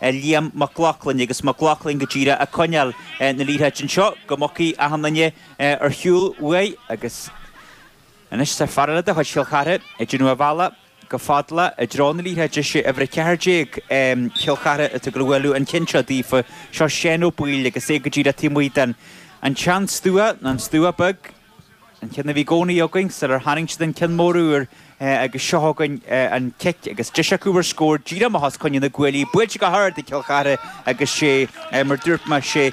Liam Mac Lochlainn agus Mac Lochlainn go díreach ag coinneáil na liathróide anseo go mbogfaidh achan duine ar shiúl uaidh agus anois tá fear eile de chuid Chill Chartha ag déanamh a bhealach go fada le i dtreo na liathróide. Sé uimhir 14 Chill Chartha atá ag gabháil a bhualadh an ceann seo daofa. Seo Seán Ó Baoill agus é go díreach taobh amuigh den an tsean-stua, nó an stua beag. An ceann a bhí i gcónaí againn sular tharraing siad an ceann mór úr agus seo chugainn an cic agus deis acu ar scór díreach amach os coinne na gcuaillí, buailte go hard ag Cill Chartha agus sé, mar dúirt mé, sé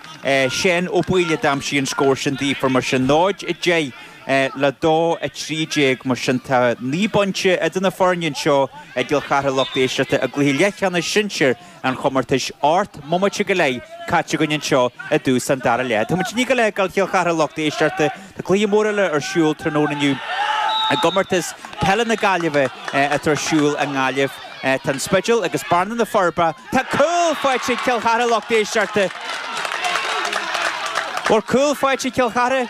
Seán Ó Baoill a d'aimsigh an scór sin daofa mar sin 0, 10 le 2, 13 mar sin tá 9 bpointe idir na foirne anseo i gCill Chartha lucht éisteachta i gcluiche leathcheannais sinsir an chomórtais. 18 mbomaite go leith caite againn anseo i dtús an dara leath. Tá muid i ndiaidh a leath ag dul Chill Chartha lucht éisteachta. Tá cluiche mór eile ar siúl tráthnóna inniu i gcomórtas peile na Gaillimhe atá ar siúl i nGaillimh. Tá an Spidéal agus Bearna na Forbacha. Tá cúl faighte ag Cill Chartha lucht éisteachta. Bhfuil cúl faighte ag Cill Chartha?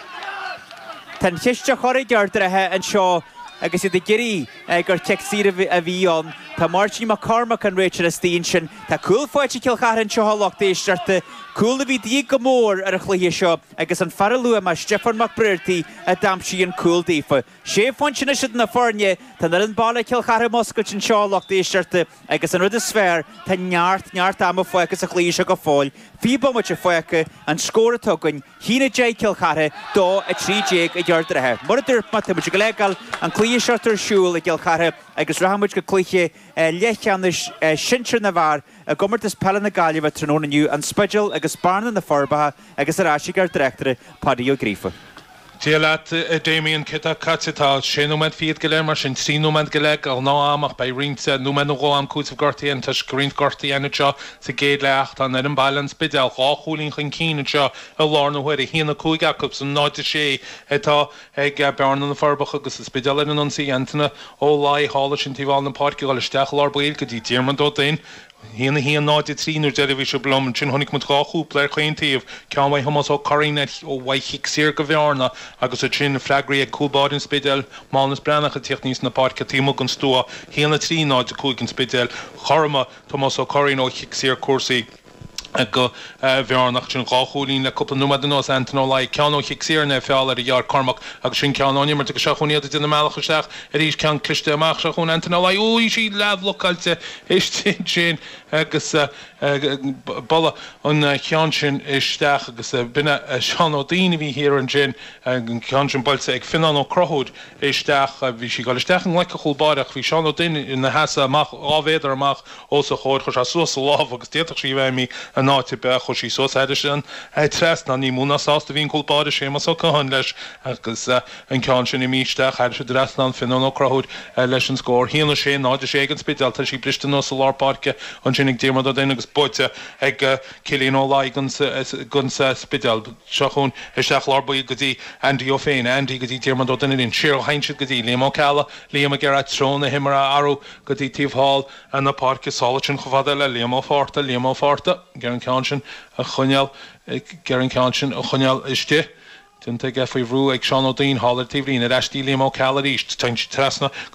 Tá an chiste á chur ag Ard an Rátha anseo agus iad ag iarraidh gur cic saor a bhí ann. Tá Máirtín Mac Cormaic an réiteoir istigh ansin. Tá cúl faighte ag Cill Chartha anseo a lucht éisteachta. Cúl a bhí de dhíth go mór ar an chluiche seo agus an fear a luaigh mé, Stiofán Mac Briartaigh, a d'aimsigh an cúl daofa. Sé phointe anois idir na foirne. Tá an fhoireann baile Cill Chartha múscailte anseo a lucht éisteachta agus an rud is fearr, tá neart, neart ama fágtha sa chluiche seo go fóill. 20 bomaite fágtha, an scór atá againn, 1-10 Cill Chartha, 2, 13 ag Ard an Rátha. Mar a dúirt mé, tá muid ag gabháil a fhágáil an cluiche seo ar siúl i gCill Chartha agus rachaidh muid go cluiche leathcheannais sinsir na bhfear i gComórtas Peile na Gaillimhe tráthnóna inniu, An Spidéal agus Bearna na Forbacha agus ar ais ag ár dtráchtaire Páidí Ó Gríofa. Dia leat, a Damien. Céard atá caite? Tá sé nóiméad fichead go leith, mar sin trí nóiméad go leith de ghnáth-am ach beidh roinnt nóiméad nó dhó am cúitimh gortaithe ann toisc roinnt gortuithe ann anseo sa gcéad leath ach tá an fhoireann baile, An Spidéal, dhá chúilín chun cinn anseo i láthair na huaire, 1-5 acu san 0-6 atá ag Bearna na Forbacha agus an Spidéal ar an ionsaí. Antaine Ó Laoi thall ansin taobh thall na páirce ag dul isteach i lár baill go dtí Diarmuid Ó Duinn. 1, 1, 0, 3 nuair deireadh bhí sibh liom. Ansin chonaic muid dhá chúpla ar chaon taobh, ceann uaidh Thomás Ó Curraoin ar ó uaidh chic saor go Bhearna agus ansin freagraí ag cúl báire an Spidéil, Mánus Breathnach ag tíocht aníos na páirce taobh amuigh den stua, 1, 3, 0, 5 an Spidéal. Chothromaigh Tomás Ó Curraoin ó chic saor cúrsaí go Bhearna. Sin dhá chúilín le cúpla nóiméad anuas, Antaine Ó Laoi, ceann ó chic saor ar feall ar a dheartháir Cormac agus sin ceann ón imirt agus seo chugainn iad ag déanamh a mbealach isteach arís, ceann cliste amach seo chugainn Antaine Ó Laoi, ó bhí sí leathbhlocáilte istigh ansin agus bualadh an ceann sin isteach agus b'in é Seán Ó Duinn a bhí thiar ansin, an ceann sin buailte ag Fionnán Ó Conchúir isteach, bhí sí ag dul isteach i nglaic an chúl báire ach bhí Seán Ó Duinn ina sheasamh amach dhá mhéadar amach os a chomhair. Chuir sé suas a lámh agus d'fhéadfadh sí a bheith imithe in áit ar bith. Chuir sí suas thairis an trasnán. Ní mó ná sásta a bhí an cúl báire, Séamus Ó Catháin, leis agus an ceann sin imithe isteach thairis an dtrasnán. Fionnán Ó Conchúir leis an scór. 1, 6, 0, 6 ag an Spidéal. Tá sí briste anuas i lár páirce ansin ag Diarmuid Ó Duinn agus buaite ag Cillian Ó Laoi don Spidéal. Seo chugainn isteach lár baill go dtí Andy Ó Féin. Andy go dtí Diarmuid Ó Duinn arís. Siar a théann siad go dtí Liam Ó Ceallaigh. Liam ag iarraidh treo na himeartha a athrú go dtí taobh thall na páirce. Sall ansin chomh fada le Liam Ó Fátharta. Liam Ó Fátharta ag iarraidh an ceann sin a choinneáil, ag iarraidh an ceann sin a choinneáil istigh. Déanta aige faoi bhrú ag Seán Ó Duinn thall ar an taobhlíne. Ar ais dtí Liam Ó Ceallaigh arís. Téann siad trasna.